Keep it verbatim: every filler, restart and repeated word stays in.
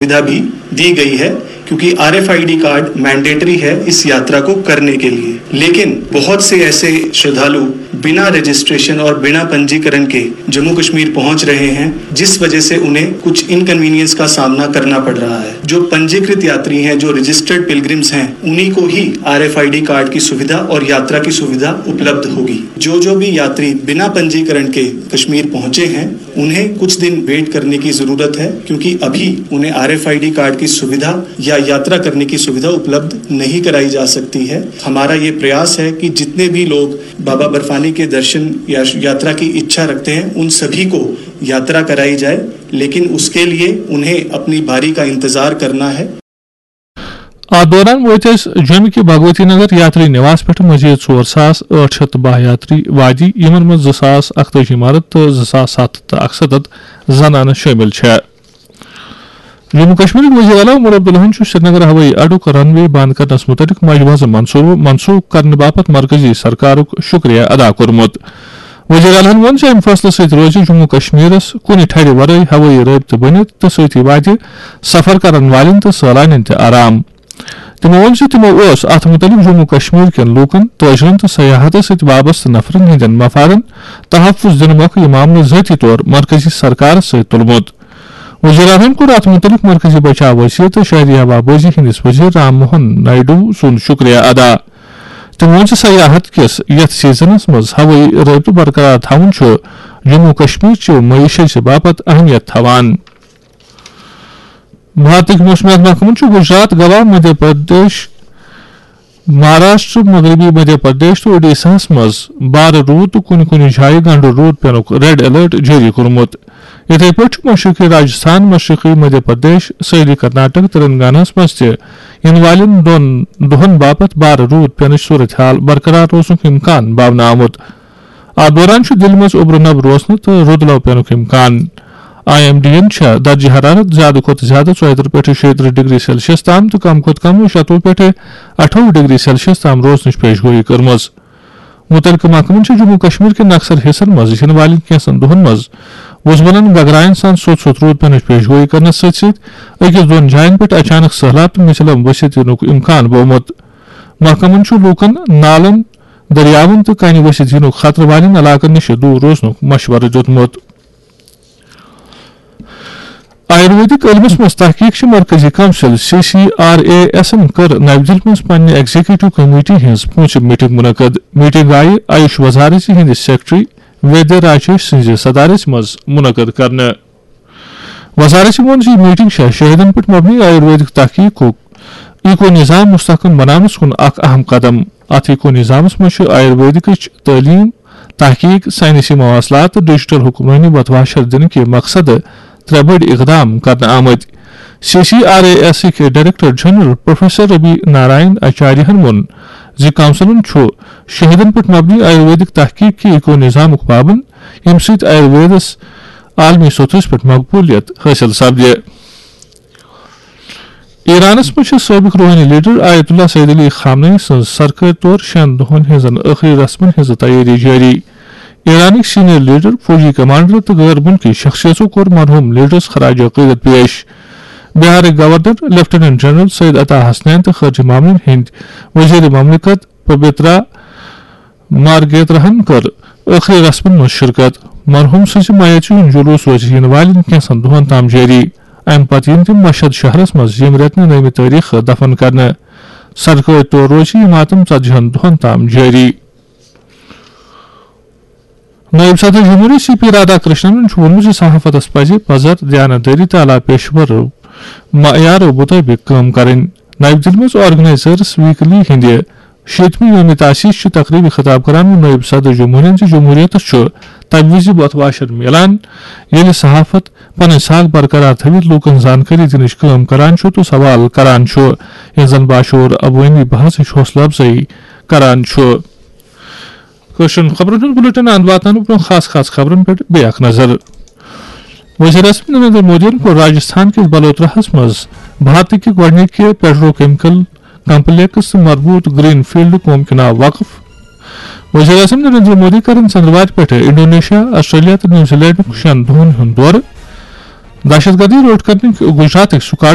सुविधा भी दी गई है, क्योंकि आरएफआईडी कार्ड मैंडेटरी है इस यात्रा को करने के लिए। लेकिन बहुत से ऐसे श्रद्धालु बिना रजिस्ट्रेशन और बिना पंजीकरण के जम्मू कश्मीर पहुंच रहे हैं, जिस वजह से उन्हें कुछ इनकन्वीनियंस का सामना करना पड़ रहा है। जो पंजीकृत यात्री हैं, जो रजिस्टर्ड पिलग्रिम्स हैं, उन्हीं को ही आरएफआईडी कार्ड की सुविधा और यात्रा की सुविधा उपलब्ध होगी। जो जो भी यात्री बिना पंजीकरण के कश्मीर पहुंचे हैं, उन्हें कुछ दिन वेट करने की जरूरत है, क्योंकि अभी उन्हें आरएफआईडी कार्ड की सुविधा या यात्रा करने की सुविधा उपलब्ध नहीं कराई जा सकती है। हमारा ये प्रयास है कि जितने भी लोग बाबा बर्फानी के दर्शन या यात्रा की इच्छा रखते हैं, उन सभी को यात्रा कराई जाए, लेकिन उसके लिए उन्हें अपनी बारी का इंतजार करना है। اتھ دوران وٲتۍ أسۍ جوٚمہِ کہِ بھگوتی نگر یاتری نواس پٮ۪ٹھ مزید ژور ساس ٲٹھ شیٚتھ تہٕ باہ یاتری وادی، یِمن منٛز زٕ ساس اکتٲجی مرد تہٕ زٕ ساس ستھ ہتھ تہٕ اکستتھ زنانہٕ شٲمِل چھےٚ۔ جموں کشمیرٕکۍ وزیر اعلیٰ عمر عبداللہن چھُ سرینگر ہوٲیی اڈُک رن وے بند کرنس مُتعلق مجوزٕ منصوٗبہٕ منسوخ کرنہٕ باپتھ مرکزی سرکارُک شُکریہ ادا کوٚرمُت۔ وزیر اعلیٰ ہَن ووٚن زِ اَمہِ فٲصلہٕ سۭتۍ روزِ جموں کشمیرَس کُنہِ ٹھرِ ورٲے ہوٲیی رٲبطہٕ بٔنِتھ تہٕ سۭتی واتہِ سفر کرن والٮ۪ن تہٕ سٲلانٮ۪ن تہِ آرام۔ تِمَو ووٚن زِ تِمَو اوس اَتھ مُتعلِق جموں کشمیر کٮ۪ن لوٗکَن، تٲجرَن تہٕ سیاحتَس سۭتۍ وابستہٕ نفرَن ہٕنٛدٮ۪ن مفادَن تحفظ دِنہٕ مۄکھٕ یہِ معاملہٕ ذٲتی طور مرکزی سرکارَس سۭتۍ تُلمُت۔ وزیر اعظم کوٚر اَتھ مُتعلِق مرکزی بچاو وزیر تہٕ شہری ہوابازی ہٕنٛدِس وزیر رام موہن نائیڈو سُنٛد شُکریہ ادا۔ تٔمۍ ووٚن زِ سیاحت کِس یَتھ سیزنَس منٛز ہوٲیی رٲبطہٕ برقرار تھاوُن چھُ جموں کشمیر چہِ معیشت باپتھ اہمیت تھاوان۔ بھارتٕکۍ موسمیات محکمَن چھُ گجرات، گوا، مدھیہ پردیش، مہاراشٹر، مغربی مدھیہ پردیش تہٕ اوڈیشاہَس منٛز بارٕ روٗد تہٕ کُنہِ کُنہِ جایہِ گنڈٕ روٗد پینُک ریڈ الرٹ جٲری کوٚرمُت۔ یِتھے پٲٹھۍ چھُ مشرقی راجستھان، مشرقی مدھیہ پردیش، سٲحلی کرناٹک، تلنگاناہَس منٛز تہِ یِنہٕ والٮ۪ن دۄن دۄہَن باپتھ بارٕ روٗد پینٕچ صورتحال برقرار روزنُک امکان باونہٕ آمُت۔ اتھ دوران چھُ دِلہِ منٛز اوٚبرٕ نب روزنہٕ تہٕ رُدلو پینُک امکان۔ آئی ایم ڈی یَن چھےٚ درجہ حرارت زیادٕ کھۄتہٕ زیادٕ ژۄیہِ ترٕٛہ پٮ۪ٹھٕ شیٚیہِ ترٕٛہ ڈگری سیلسیس تام تہٕ کم کھۄتہٕ کم شتوُہ پٮ۪ٹھٕ اَٹھووُہ ڈگری سیلسیس تام روزنٕچ پیش گویی کٔرمٕژ۔ مُتعلقہٕ محکمَن چھِ جموں کشمیر کٮ۪ن اکثر حصن منٛز یِنہٕ والٮ۪ن کینٛژن دۄہَن منٛز وُزمَلن گگراین سان سوٚت سوٚت روٗد پینٕچ پیش گویی کرنَس سۭتۍ سۭتۍ أکِس دۄن جایَن پٮ۪ٹھ اچانک سٔہلاب تہٕ مِثلم ؤسِتھ یِنُک امکان بوومُت۔ محکمَن چھُ لوٗکَن نالَن، دٔریاوَن تہٕ کَنہِ ؤسِتھ یِنُک خطرٕ والٮ۪ن علاقَن نِش دوٗر روزنُک مشورٕ دیُتمُت۔ آیُرویدک علمس منٛز تحقیق چہِ مرکزی council, C C R A ایسن کٔر نَوِ دِلہِ منٛز پننہِ ایگزیکٹو کمیٹی ہٕنٛز پوٗنٛژِم میٹنگ منعقد۔ میٹنگ آیہِ آیوش وزارت ہٕنٛدِ سیکرٹری ویدیہ راجیش سٕنٛزِ صدارت منٛز منعقد کرنہٕ۔ وزارت ووٚن زِ یہِ میٹنگ چھےٚ شہیدن پٮ۪ٹھ مبنی آیُرویدک تحقیقُک ایکو نظام مستحکم بناونس کُن اکھ اہم قدم۔ اتھ ایکو نظامس منٛز چھُ آیُرویدکٕچ تعلیٖم، تحقیق، ساینسی مواصلات تہٕ ڈیجیٹل حکمرٲنی وتواشر دِنہٕ کہِ مقصدٕ ترٛےٚ بٔڑۍ اقدام کرنہٕ آمٕتۍ۔ سی سی آر اے ایسٕکۍ director general professor Rabi Narayan آچاریہن ووٚن زِ کونسلن چھُ شہیدن پٮ۪ٹھ مبنی آیُرویدک تحقیق کہِ ایکو نظامُک پابند، ییٚمہِ سۭتۍ آیُرویدس عالمی سطحس پٮ۪ٹھ مقبولیت حٲصِل سپدِ۔ ایرانس منٛز چھِ سٲبق روحٲنی لیڈر آیت اللہ سید علی خامنئی سٕنٛز سرکٲرۍ طور شٮ۪ن دۄہن ہٕنٛزن ٲخری رسمن ہٕنٛز تیٲری جٲری۔ ایرانٕکۍ سینئر لیڈر، فوجی کمانڈر تہٕ غٲر مُلکی شخصیژو کوٚر مرحوٗم لیڈرس خراج عقیدت پیش۔ بہارٕکۍ گورنر لیفٹیننٹ جنرل سید عطا حسنین تہٕ خارجہ معاملن ہٕنٛدۍ وزیر مملکت پبیترا مارگیتراہن کٔر ٲخری رسمن منٛز شرکت۔ مرحوم سٕنٛزِ میژِ ہُنٛد جلوس روزِ یِنہٕ والٮ۪ن کینٛژن دۄہن تام جٲری۔ امہِ پتہٕ یِن تِم مشہد شہرس منٛز ییٚمہِ رٮ۪تہٕ نٔومہِ تٲریخہٕ دفن کرنہٕ۔ سرکٲرۍ طور روزِ یہِ ماتم ژتجی ہن دۄہن تام جٲری۔ نٲیِب صدر جمہوریہ سی پی رادھا کرشنن چھُ ووٚنمُت زِ صحافتس پزِ پزر، دیانتدٲری تہٕ اعلیٰ پیشور معیارو مُطٲبِق کٲم کرٕنۍ۔ نَوِ دِلہِ منٛز آرگنائزرز ویکلی ہٕنٛدِ شیٖتمہِ یومِ تاسیس چہِ تقریبہِ خطاب کران ووٚن نٲیِب صدر جمہوریہ زِ جمہوریتس چھُ تَمہِ وِزِ بتواشر میلان، ییٚلہِ صحافت پنٕنۍ ساکھ برقرار تھٲوِتھ لوٗکن زانکٲری دِنٕچ کٲم کران چھُ تہٕ سوال کران چھُ، ییٚلہِ زن باشعوٗر عوٲمی بحثٕچ حوصلہٕ افزٲیی کران چھُ۔ کٲشرٮ۪ن خبرن ہُنٛد بُلٹن اند واتنہٕ برٛونٛہہ خاص خاص خبرن پٮ۪ٹھ بیٚیہِ اکھ نظر۔ وزیر اعظم نریندر مودیَن کوٚر راجستھان کِس بلوتراہَس منٛز بھارتٕکہِ گۄڈٕنِکہِ پیٹرو کیمیکل کمپلیکس تہٕ مربوط گرین فیلڈ قوم کے ناو وقف۔ وزیر اعظم نریندر مودی کَرن ژٔنٛدٕروارِ پٮ۪ٹھٕ انڈونیشیا، آسٹریلیا تہٕ نیوزی لینڈُک شٮ۪ن دۄہَن ہُنٛد دورٕ۔ دہشت گردی روٚٹ کرنٕکۍ گجراتٕکۍ سکاڈ